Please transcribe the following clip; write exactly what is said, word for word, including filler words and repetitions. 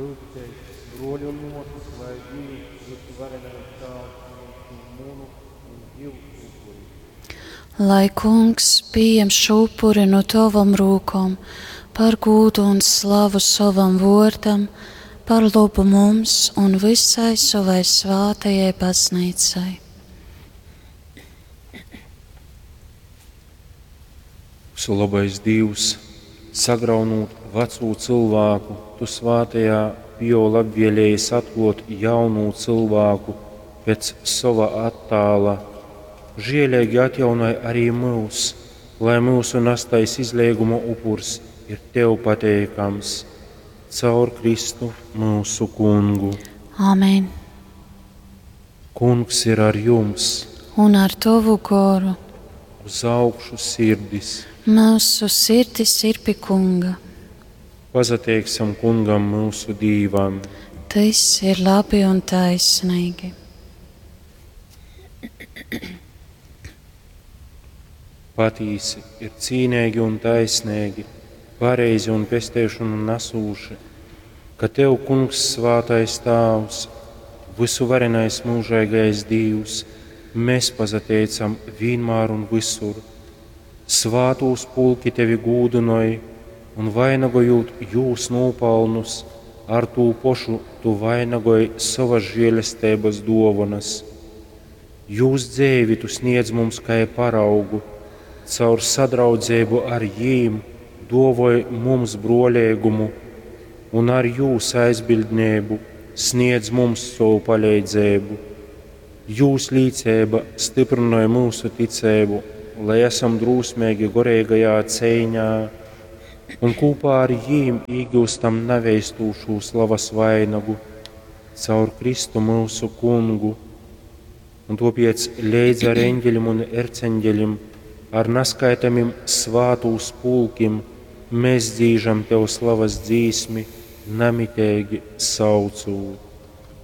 Lyudzitēs, bruoļi un muosys, lai Dīvs, vysuvarenais Tāvs, pījam šū munu un jiusu upuri. Lai Kungs pījem šo upuri no tavam rūkom par gūdu un slavu sovam vōrdam, par lobu mums un visai savai svātajai baznīcai. Visulabais Dīvs, sagraunūt vacū cylvāku, tu svātajā Pio labvēlējies atklāt jaunū cylvāku pēc sova attāla. Žieleigi atjaunoj arī mūs, lai mūsu nastais izleiguma upurs ir tev pateikams. Caur Kristu mūsu kungu. Āmen. Kungs ir ar jums, Un ar tavu goru uz augšu sirdis. Mūsu sirdis ir pie Kunga. Pasateiksim kungam mūsu Dīvam. Tas ir labi un taisnīgi. Patīsi ir cīnīgi un taisnīgi, pareizi un pesteišanu nesūši, ka Tev, Kungs, svātais Tāvs, visuvarenais mūžīgais Dīvs, mēs pasateicam vienmēr un visur. Svātūs pulki Tevi gūdinoj un vainagojot jūs nopelnus, ar tū pošu Tu vainagoj savas žēlestības dovanas. Jūs dzēvi Tu sniedz mums kā paraugu, caur sadraudzību ar jīm dovoj mums broļīgumu un ar jūs aizbildnību sniedz mums savu palīdzību. Jūs līdzība stiprinoja mūsu ticību, lai esam drūsmīgi gorīgajā cīņā un kopā ar jīm iegūstam neveistūšu slavas vainagu caur Kristu mūsu kungu. Un topiec leidz ar eņģeļim un erceņģeļim, ar naskaitamim svātūs pulkim, mēs dzīžam Tev slavas dzīsmi, namitīgi saucūt.